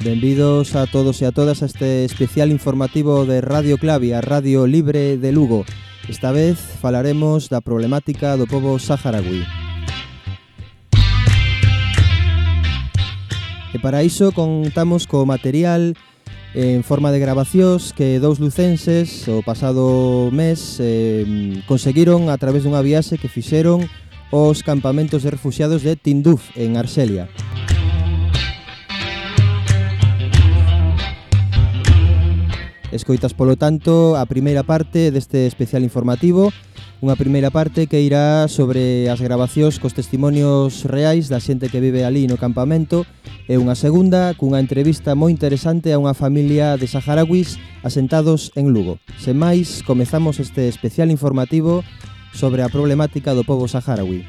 Benvidos a todos e a todas a este especial informativo de Radio Clavi, a Radio Libre de Lugo. Esta vez falaremos da problemática do pobo saharaui. E para iso contamos co material en forma de grabacións que dous lucenses o pasado mes conseguiron a través dunha viaxe que fixeron os campamentos de refuxiados de Tinduf, en Arxelia. Escoitas, polo tanto, a primeira parte deste especial informativo, unha primeira parte que irá sobre as grabacións cos testimonios reais da xente que vive ali no campamento, e unha segunda cunha entrevista moi interesante a unha familia de saharauis asentados en Lugo. Sen máis, comezamos este especial informativo sobre a problemática do pobo saharaui.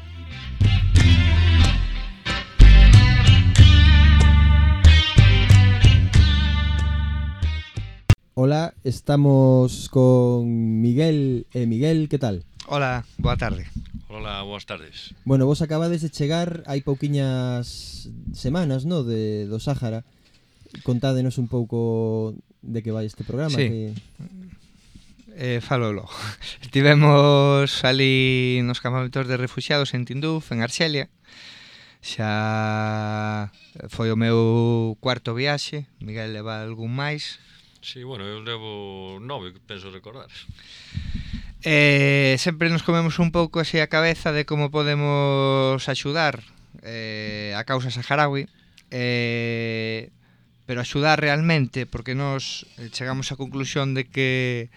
Hola, estamos con Miguel. Miguel, que tal? Hola, boa tarde. Hola, boas tardes. Bueno, vos acabades de chegar hai pouquiñas semanas, no, do Sáhara. Contádenos un pouco de que vai este programa. Sí, falo logo. Estivemos ali nos campamentos de refuxiados en Tinduf, en Arxelia. Xa foi o meu cuarto viaxe. Miguel leva algún máis. Sí, bueno, eu levo 9, penso recordar. Sempre nos comemos un pouco así a cabeza de como podemos axudar a causa saharaui, pero axudar realmente, porque nos chegamos á conclusión de que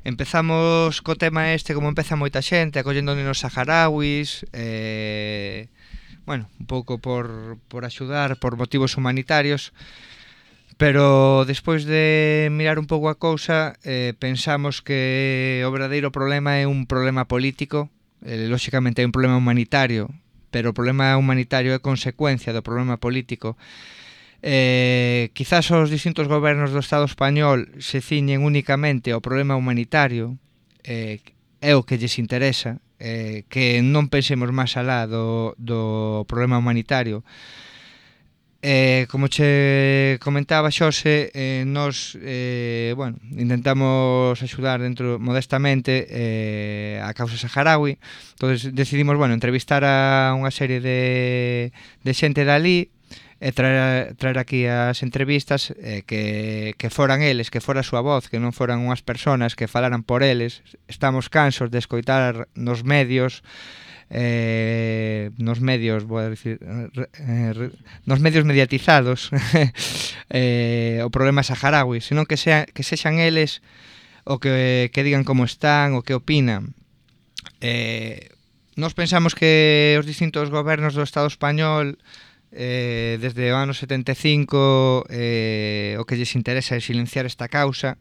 empezamos co tema este como empeza moita xente, acollendo nenos saharauis, bueno, un pouco por axudar, por motivos humanitarios. Pero despois de mirar un pouco a cousa, pensamos que o verdadeiro problema é un problema político. Lóxicamente é un problema humanitario, pero o problema humanitario é consecuencia do problema político. Quizás os distintos gobernos do Estado español se ciñen únicamente ao problema humanitario, é o que lles interesa, que non pensemos máis alá do problema humanitario. Como che comentaba Xose, nos intentamos axudar dentro modestamente a causa saharaui. Entonces decidimos entrevistar a unha serie de xente dali e traer aquí as entrevistas, que foran eles, que fora a súa voz, que non foran unhas persoas que falaran por eles. Estamos cansos de escoitar nos medios nos medios mediatizados o problema saharaui, senón que sexan eles o que digan como están, o que opinan. Nos pensamos que os distintos gobernos do Estado español desde o ano 75 o que lles interesa é silenciar esta causa,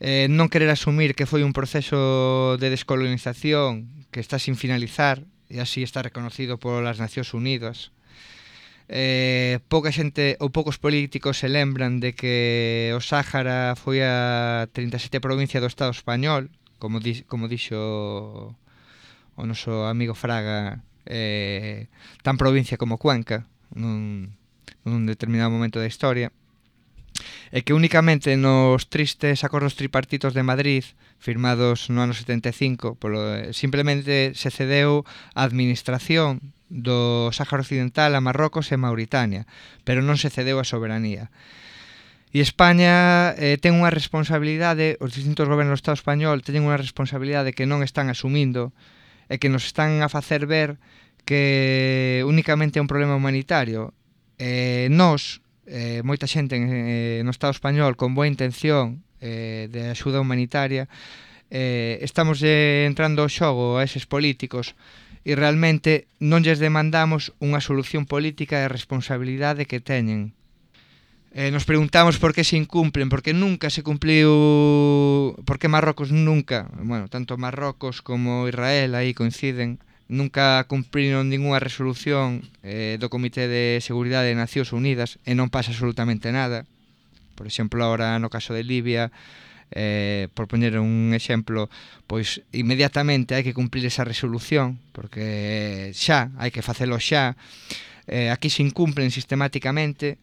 non querer asumir que foi un proceso de descolonización que está sin finalizar e así está reconocido polas Nacións Unidas. Pouca xente ou poucos políticos se lembran de que o Sáhara foi a 37 provincia do Estado español, como dixo o noso amigo Fraga, tan provincia como Cuenca nun determinado momento da historia, e que únicamente nos tristes acordos tripartitos de Madrid firmados no ano 75 simplemente se cedeu a administración do Sáhara Occidental a Marrocos e Mauritania, pero non se cedeu a soberanía. E España ten unha responsabilidade, os distintos gobernos do Estado español teñen unha responsabilidade que non están asumindo e que nos están a facer ver que únicamente é un problema humanitario. Moita xente no Estado español con boa intención de axuda humanitaria, estamos entrando ao xogo a eses políticos e realmente non lles demandamos unha solución política e a responsabilidade que teñen. Nos preguntamos por que se incumplen, porque nunca se cumpliu, porque Marrocos nunca, tanto Marrocos como Israel aí coinciden, nunca cumpriron ninguna resolución do Comité de Seguridade de Nacións Unidas e non pasa absolutamente nada. Por exemplo, agora no caso de Libia, por poñer un exemplo, pois inmediatamente hai que cumplir esa resolución, porque xa, hai que facelo xa. Aquí se incumplen sistemáticamente,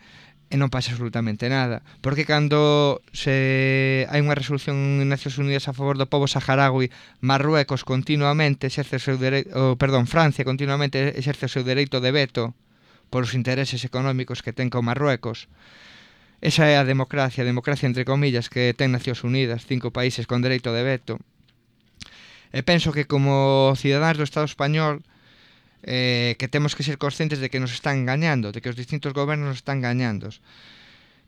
e non pasa absolutamente nada, porque cando hai unha resolución en Nacións Unidas a favor do pobo saharaui, Marruecos continuamente exerce o seu dereito, Francia continuamente exerce o seu dereito de veto por os intereses económicos que ten con Marruecos. Esa é a democracia entre comillas que ten Nacións Unidas, 5 países con dereito de veto. E penso que como cidadáns do Estado español que temos que ser conscientes de que nos están engañando, de que os distintos gobernos nos están engañando,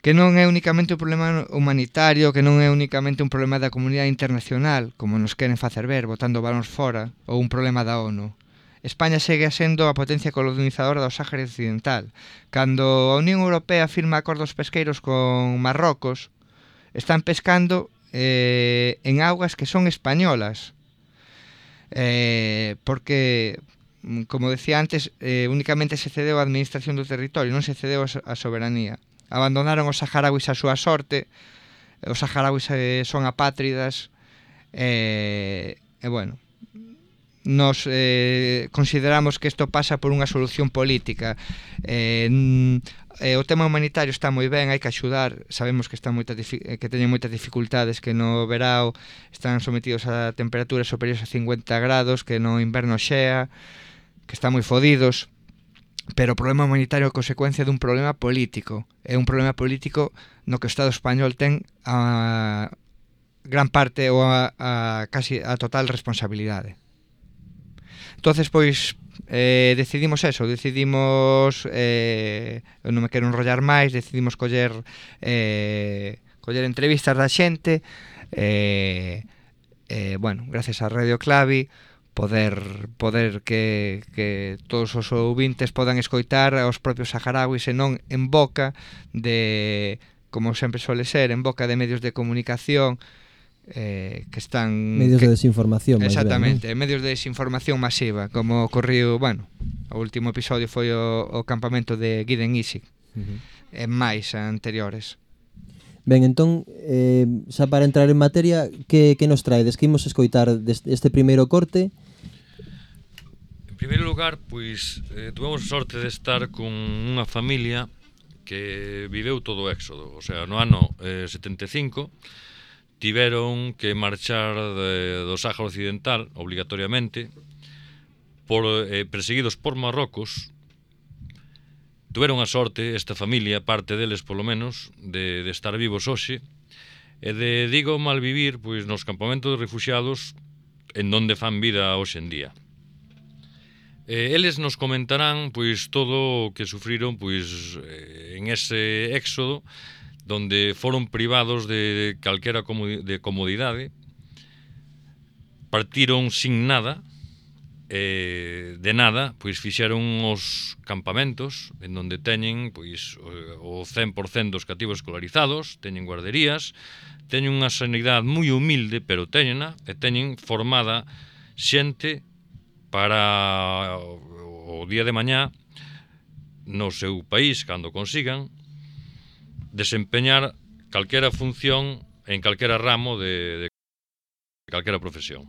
que non é únicamente un problema humanitario, que non é únicamente un problema da comunidade internacional, como nos queren facer ver, botando balóns fora, ou un problema da ONU. España segue sendo a potencia colonizadora do Sáhara Occidental. Cando a Unión Europea firma acordos pesqueiros con Marrocos, están pescando en augas que son españolas, porque, como decía antes, únicamente se cedeu a administración do territorio, non se cedeu a soberanía. Abandonaron os saharauis a súa sorte, os saharauis son apátridas, bueno, nos consideramos que isto pasa por unha solución política. O tema humanitario está moi ben, hai que axudar, sabemos que teñen moitas dificultades, que no verao están sometidos a temperaturas superiores a 50 grados, que no inverno xea, que están moi fodidos, pero o problema humanitario é consecuencia dun problema político. É un problema político no que o Estado español ten a gran parte ou casi a total responsabilidade. Entonces, pois, decidimos non me quero enrollar máis, decidimos coller entrevistas da xente, bueno, gracias a Radio Clavi, poder que todos os ouvintes podan escoitar aos propios saharauis e non en boca de, como sempre suele ser, en boca de medios de comunicación que están... Medios de desinformación. Exactamente, ben, ¿no? Medios de desinformación masiva, como ocorriu, bueno, o último episodio foi o campamento de Guiden Isik, e máis anteriores. Ben, entón, xa para entrar en materia, que nos traedes? Que imos escoitar este primeiro corte? En primeiro lugar, pois, tuvemos a sorte de estar con unha familia que viveu todo o éxodo. O sea, no ano 75 tiveron que marchar do Sáhara Occidental, obligatoriamente, perseguidos por Marrocos. Tuveron a sorte, esta familia, parte deles polo menos, de estar vivos hoxe, e de, digo, malvivir pois, nos campamentos de refuxiados en donde fan vida hoxe en día. Eles nos comentarán pois todo o que sufriron pois en ese éxodo, donde foron privados de calquera comodidade, partiron sin nada, de nada, pois fixeron os campamentos en donde teñen pois o 100% dos cativos escolarizados, teñen guarderías, teñen unha sanidade moi humilde, pero teñena, e teñen formada xente para o día de mañá no seu país, cando consigan desempeñar calquera función en calquera ramo de calquera profesión.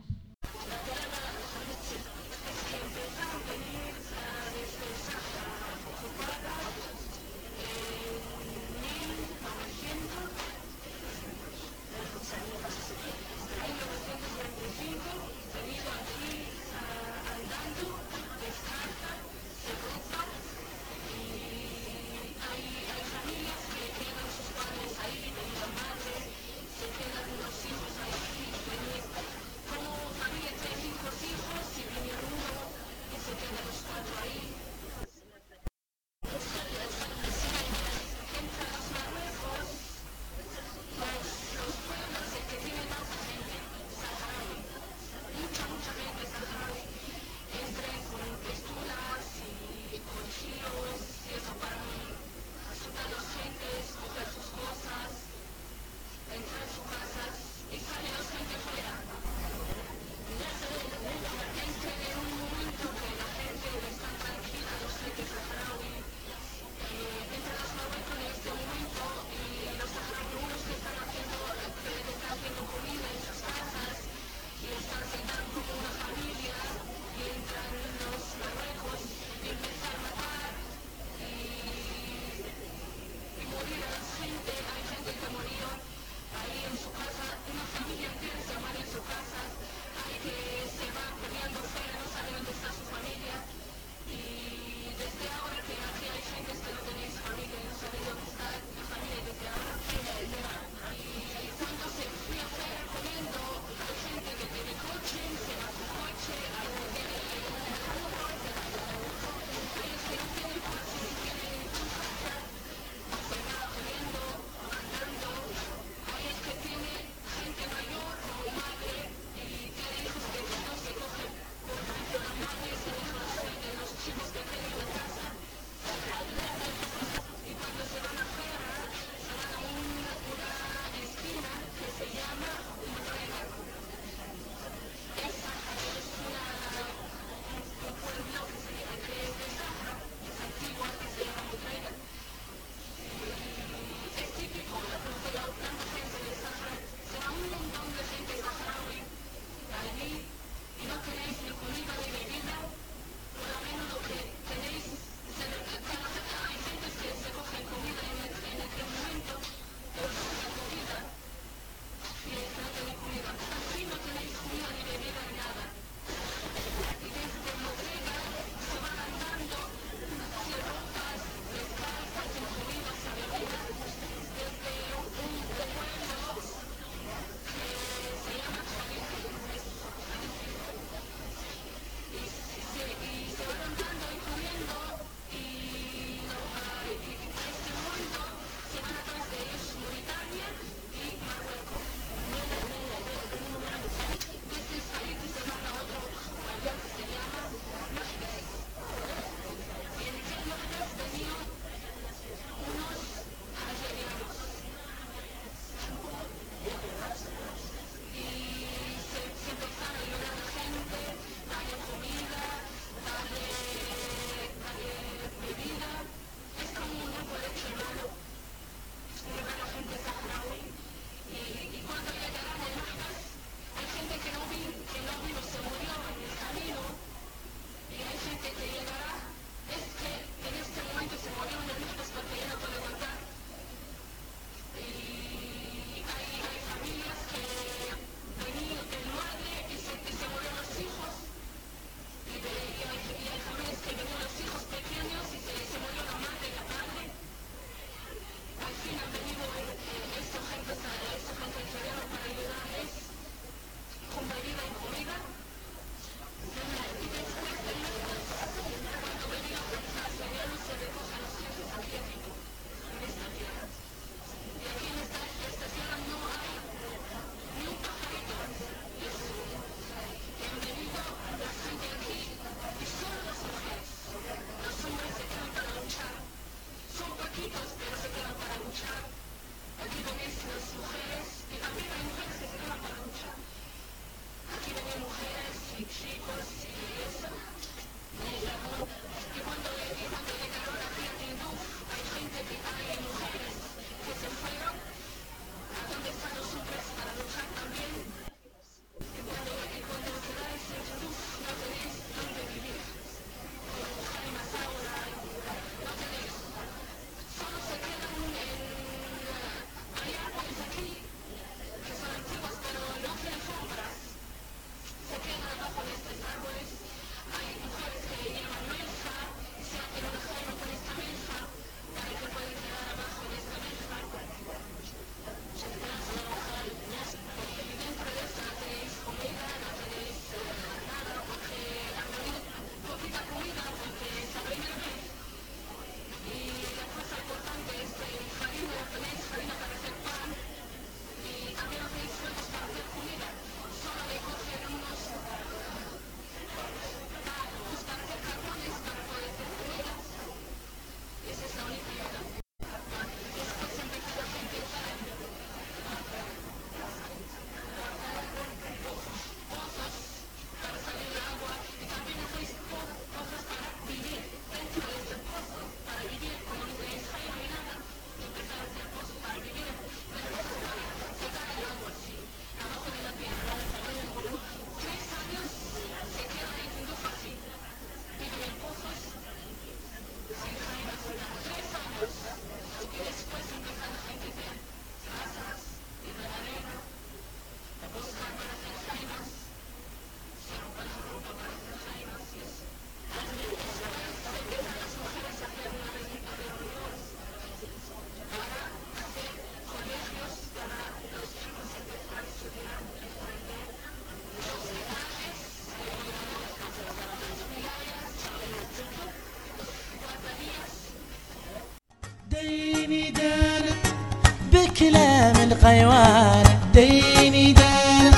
كلام القيوان ديني دانا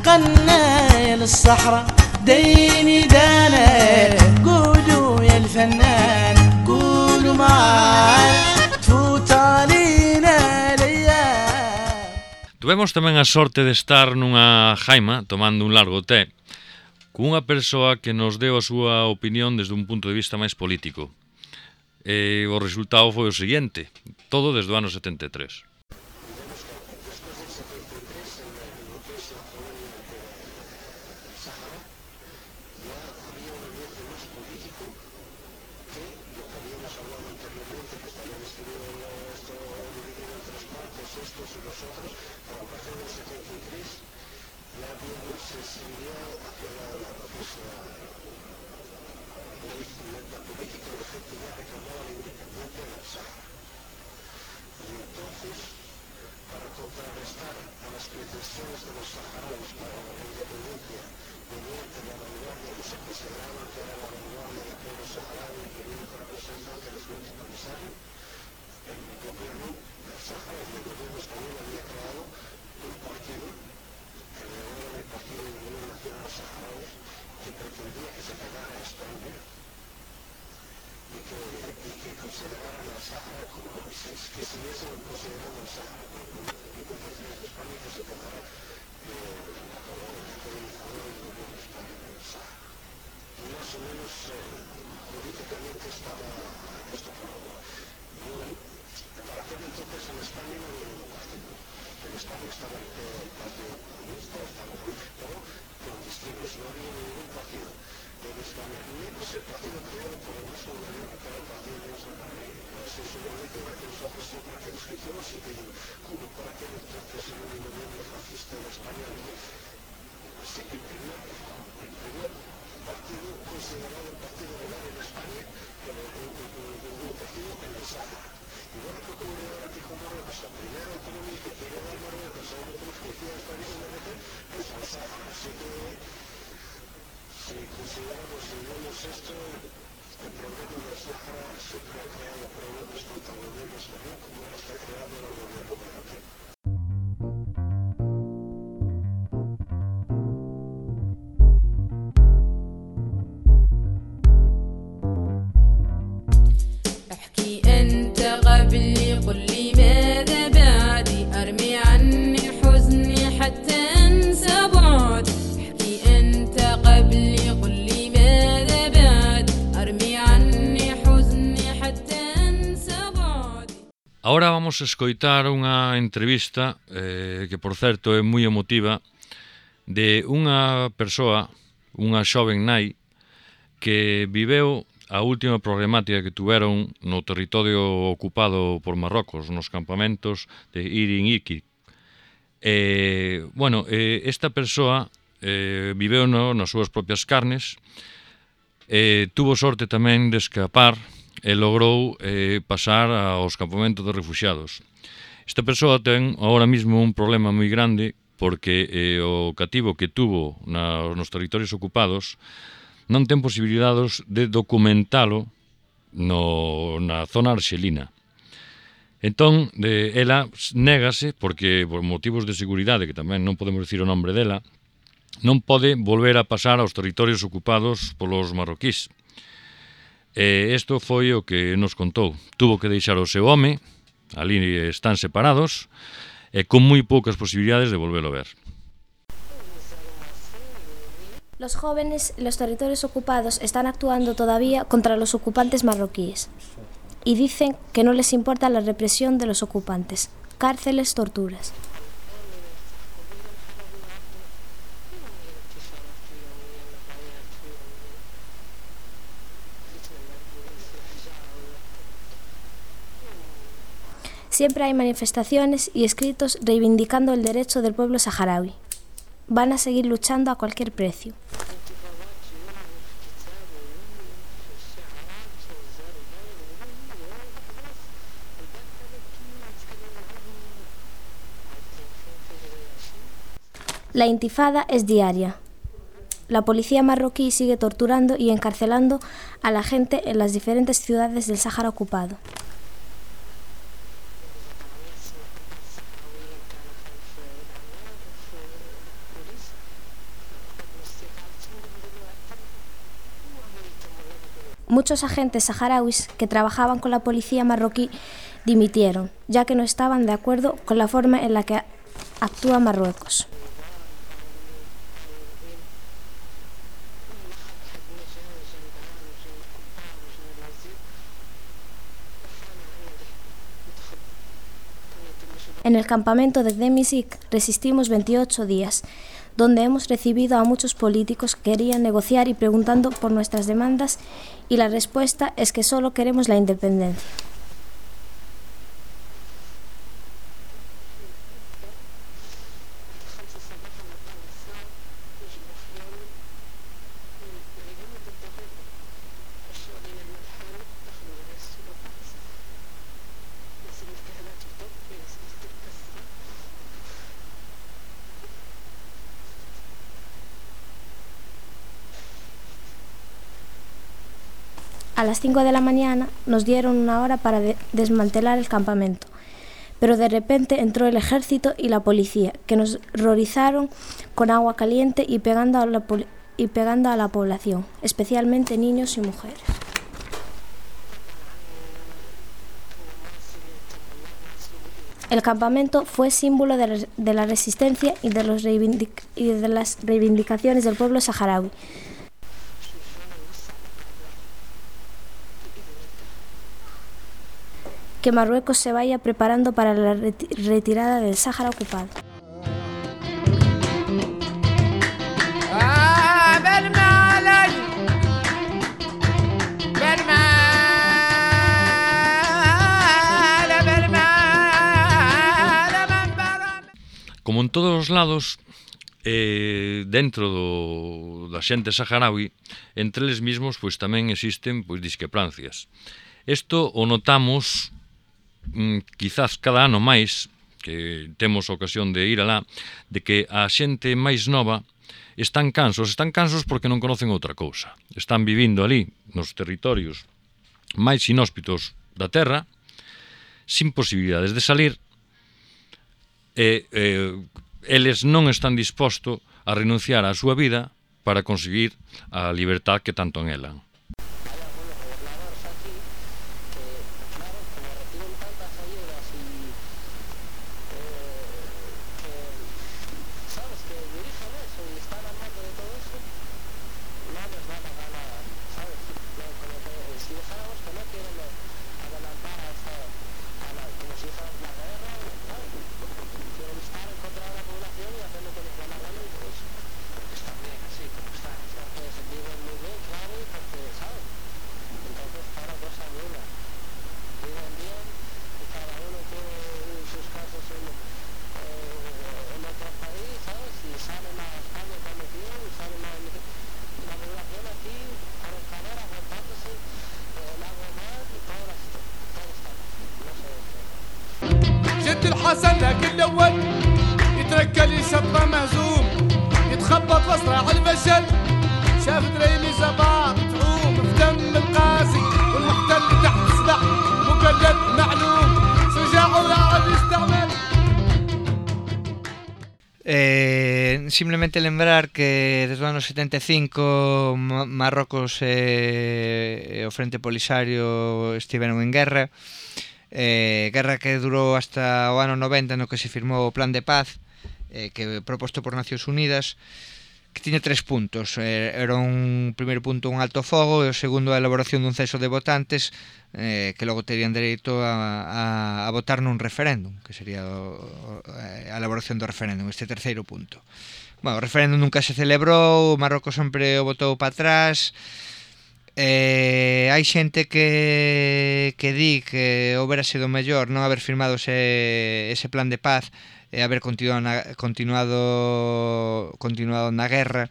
قنا للصحراء ديني دانا قولوا يا الفنان قولوا معانا تفوت علينا الايام. Tuvemos tamén a sorte de estar nunha jaima tomando un largo té cunha persoa que nos deu a súa opinión desde un punto de vista máis político. E o resultado foi o seguinte, todo desde o ano 73. Ahora vamos a escoitar unha entrevista que, por certo, é moi emotiva de unha persoa, unha xoven nai que viveu a última problemática que tuveron no territorio ocupado por Marrocos, nos campamentos de Irin Iki. Esta persoa viveu nas súas propias carnes, tuvo sorte tamén de escapar e logrou pasar aos campamentos de refuxiados. Esta persoa ten ahora mismo un problema moi grande porque o cativo que tuvo nos territorios ocupados non ten posibilidades de documentalo na zona arxelina. Entón, ela négase, porque por motivos de seguridade, que tamén non podemos dicir o nombre dela, non pode volver a pasar aos territorios ocupados polos marroquís. Isto foi o que nos contou. Tuvo que deixar o seu home, ali están separados, e con moi poucas posibilidades de volvelo a ver. Los jóvenes en los territorios ocupados están actuando todavía contra los ocupantes marroquíes y dicen que no les importa la represión de los ocupantes, cárceles, torturas. Siempre hay manifestaciones y escritos reivindicando el derecho del pueblo saharaui. Van a seguir luchando a cualquier precio. La intifada es diaria. La policía marroquí sigue torturando y encarcelando a la gente en las diferentes ciudades del Sáhara ocupado. Muchos agentes saharauis que trabajaban con la policía marroquí dimitieron, ya que no estaban de acuerdo con la forma en la que actúa Marruecos. En el campamento de Demisik resistimos 28 días, donde hemos recibido a muchos políticos que querían negociar y preguntando por nuestras demandas, y la respuesta es que solo queremos la independencia. A las 5 de la mañana nos dieron una hora para desmantelar el campamento, pero de repente entró el ejército y la policía, que nos horrorizaron con agua caliente y pegando a la población, especialmente niños y mujeres. El campamento fue símbolo de la resistencia y de las reivindicaciones del pueblo saharaui. Que Marruecos se vaya preparando para la retirada del Sáhara ocupado. Como en todos os lados, dentro da xente saharaui, entre eles mismos pois tamén existen pois discrepancias. Isto o notamos quizás cada ano máis, que temos a ocasión de ir alá, de que a xente máis nova están cansos porque non conocen outra cousa. Están vivindo ali, nos territorios máis inhóspitos da terra, sin posibilidades de salir, e eles non están dispostos a renunciar á súa vida para conseguir a libertad que tanto anhelan. الحسن لكن الاول يتركل يشطه مهزوم يتخبط واسرع الفشل شاف دريمي زباط تعوم في دم القاسي والمحتل تحت سبع مقلد معلوم شجاع ولاعب يستعمل. Simplemente lembrar que desde o ano 75 Marrocos e o Frente Polisario estiveron en guerra. Guerra que durou hasta o ano 90, no que se firmou o Plan de Paz, que proposto por Nacións Unidas, que tiña 3 puntos. Era un primeiro punto un alto fogo, e o segundo a elaboración dun censo de votantes, que logo terían dereito a votar nun referéndum, que sería a elaboración do referéndum, este terceiro punto. Bueno, o referéndum nunca se celebrou, Marrocos sempre o votou para atrás. Hai xente que di que houbera sido mellor non haber firmado ese plan de paz e haber continuado na guerra.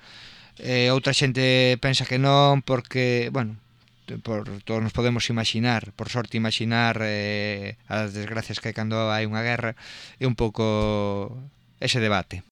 Outra xente pensa que non, porque, bueno, todos nos podemos imaginar, por sorte imaginar as desgracias que hai cando hai unha guerra, e un pouco ese debate.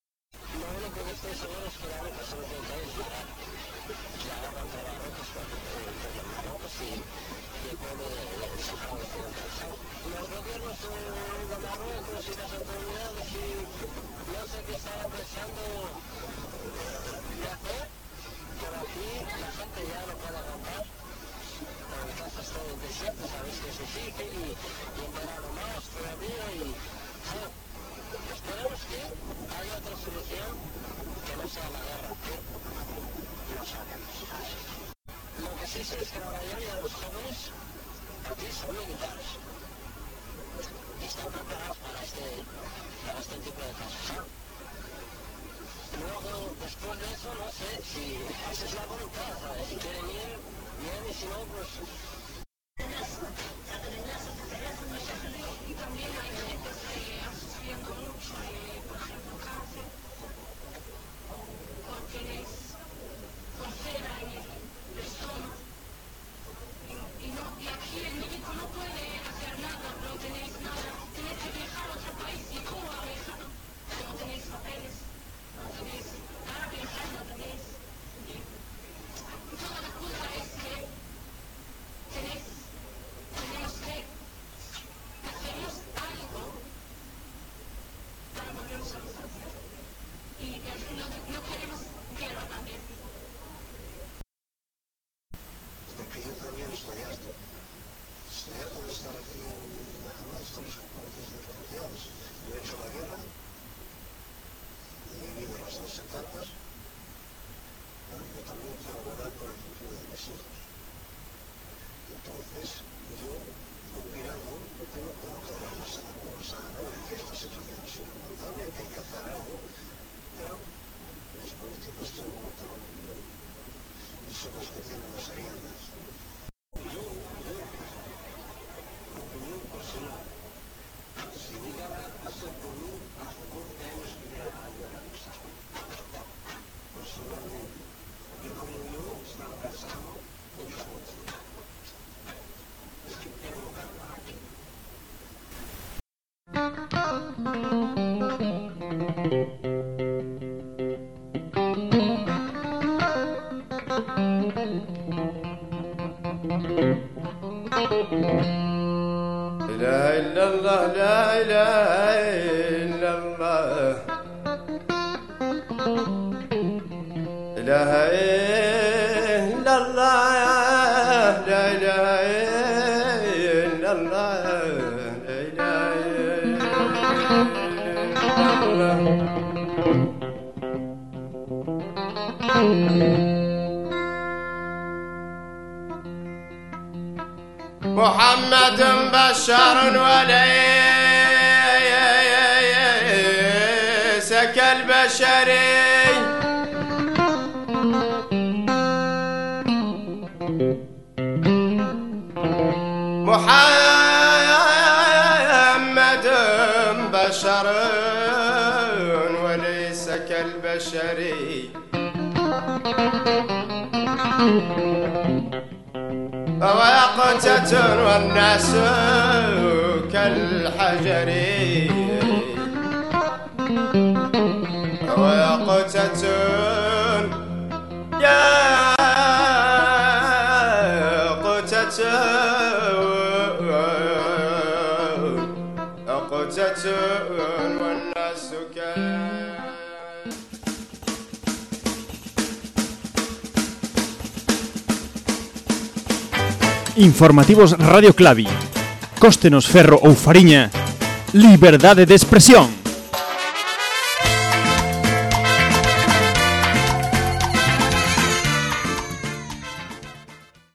لا إلا الله لا إله إلا الله إله إلا الله لا إله إلا الله لا إله إلا الله محمد بشر وليس كالبشري محمد بشر وليس كالبشري ويقتة والناس كالحجر ويقتة يا قتة قتة والناس Informativos Radio Clavi. Cóstenos ferro ou fariña. Liberdade de expresión.